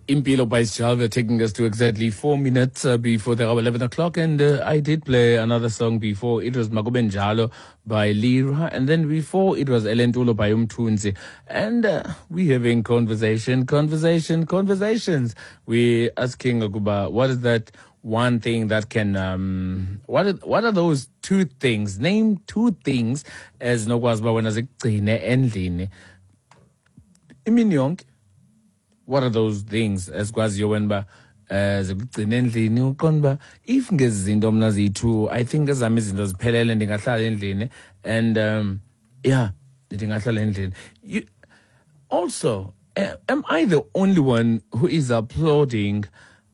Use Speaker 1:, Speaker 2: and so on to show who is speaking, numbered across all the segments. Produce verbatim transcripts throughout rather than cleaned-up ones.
Speaker 1: Impilo by Sjava taking us to exactly four minutes uh, before the hour eleven o'clock. And uh, I did play another song before. It was Makubenjalo by Lira. And then before it was Elentulo by Umthunzi. And uh, we having conversation, conversation, conversations. We asking ukuba, what is that one thing that can, um, what are, what are those two things? Name two things ezinokwazi uba wena zikugcine endlini imini yonke. What are those things ezikwaziyo wena uba um zikugcina endlini, uqonda uba if ngezi zinto mna ziyi-two, I think ezam izinto ziphelele, ndingahlala endlini? And um yeah, ndingahlala endlini. You, also, uh, am I the only one who is applauding,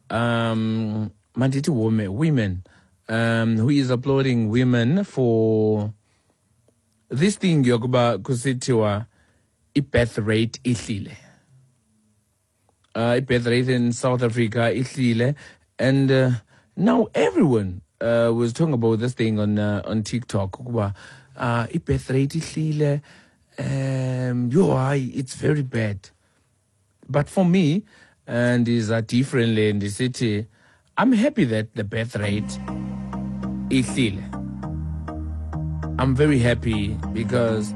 Speaker 1: um mandithi women, women um who is applauding women for this thing yokuba kusithiwa i-birth rate ihlile? uh, i-birth rate in South Africa ihlile, and uh, now everyone uh, was talking about this thing on uh, on TikTok ukuba uh, i-birth rate ihlile, um yo, hayi, it's very bad. But for me, and is a differently in the city, I'm happy that the birth rate ihlile. I'm very happy because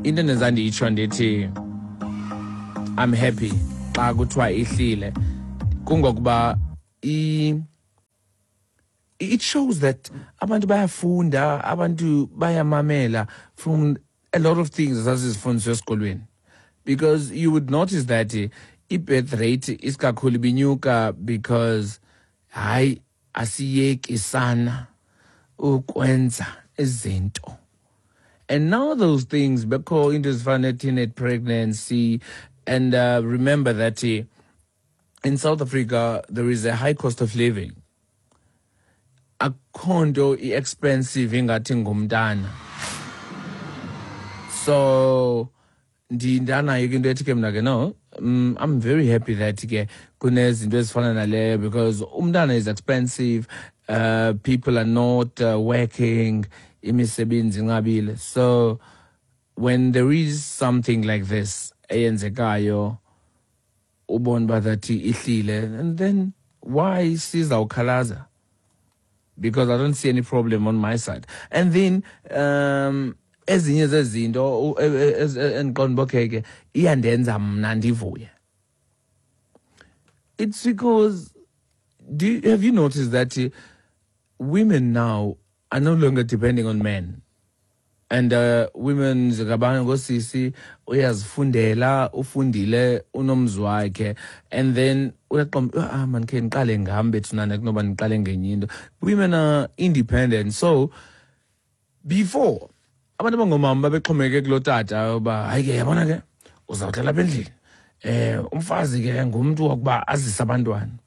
Speaker 1: into endenza nditsho ndithi I'm happy xa kuthiwa ihlile kungokuba i it shows that abantu bayafunda, abantu bayamamela from a lot of things esasizifundiswa esikolweni, because you would notice that eh, i-birth rate isikakhulu ibinyuka because hayi, asiyeki sana ukwenza izinto. And now those things bekho into ezifana ne-teenage pregnancy. And uh, remember that uh, in South Africa there is a high cost of living. Akho nto i-expensive ingathi ngumntana. So ndindanayo ke into ethi ke mna ke, no, um, I'm very happy that ke kunezinto ezifana naleyo, because umntana is expensive, uh, people are not uh, working, imisebenzi inqabile. So when there is something like this eyenzekayo, ubona uba that ihlile, and then why sizawukhalaza? Because I don't see any problem on my side. And then um ezinye zezinto e- e- e- endiqonda uba okay ke iyandenza mna ndivuye, it's because do you, have you noticed that uh, women now are no longer depending on men? And uh, women zikabanye ngosisi uyazifundela, ufundile, unomzi wakhe, and then uyaqonda, "Ah man, khe ndiqale ngam bethunana kunoba ndiqale ngenye into." Women are independent. So before, abantu abangomama babexhomekeke kulo tata uba hayi ke, yabona ke, uzawuhlala apha endlini, eh umfazi ke ngumntu wokuba azise abantwana.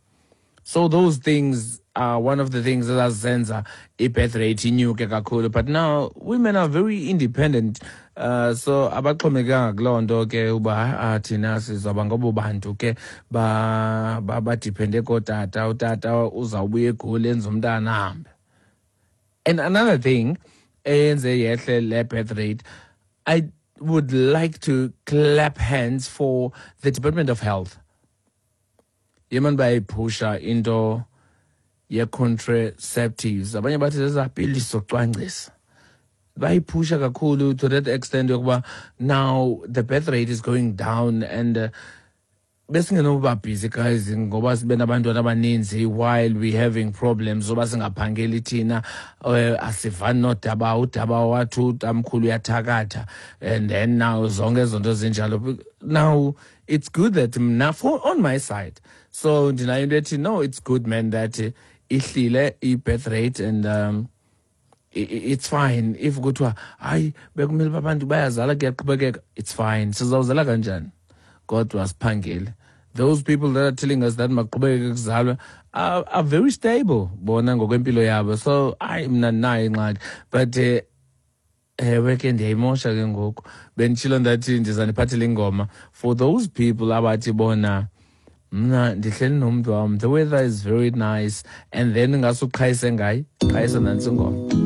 Speaker 1: So those things are one of the things ezazenza i-birth rate inyuke kakhulu. But now women are very independent, uh, so abaxhomekekanga kuloo nto ke uba ah, thina sizawuba ngobo bantu ke ba- ba- ba-depende kootata, utata uzawubuya eGoli, enze umntana, ahambe. And another thing eyenze yehle le birth rate, I would like to clap hands for the Department of Health. Yemani, bayayiphusha into ye-contraceptives, abanye bathi zezaa pilisi zocwangcisa. Bayiphusha kakhulu to that extent yokuba now the birth rate is going down. And uh, besingenoba busy guys ngoba sibe nabantwana abaninzi while we having problems zoba singaphangeli thina, uh, asivani nodaba, udaba wathi utamkhulu uyathakatha, and then now zonke ezo nto zinjalo. Now it's good that mna, for on my side, so ndinayo into ethi, no, it's good man that uh, ihlile i-birth rate. And um, i- i- it's fine if kuthiwa hayi, bekumele uba abantu bayazala, kuyaqhubekeka. It's fine, sizawuzala kanjani kodwa siphangele? Those people that are telling us that maqhubekeke kuzalwe are, are very stable bona ngokwempilo yabo. So hayi, mna ndinayo ingxaki. But uh, ewe ke, ndiyayimosha ke ngoku. Benditshilo ndathi ndizandiphathela ingoma for those people abathi bona, mna ndihleli nomntu wam, the weather is very nice, and then ngasuqhayise ngayi qhayisa nantsi ingoma.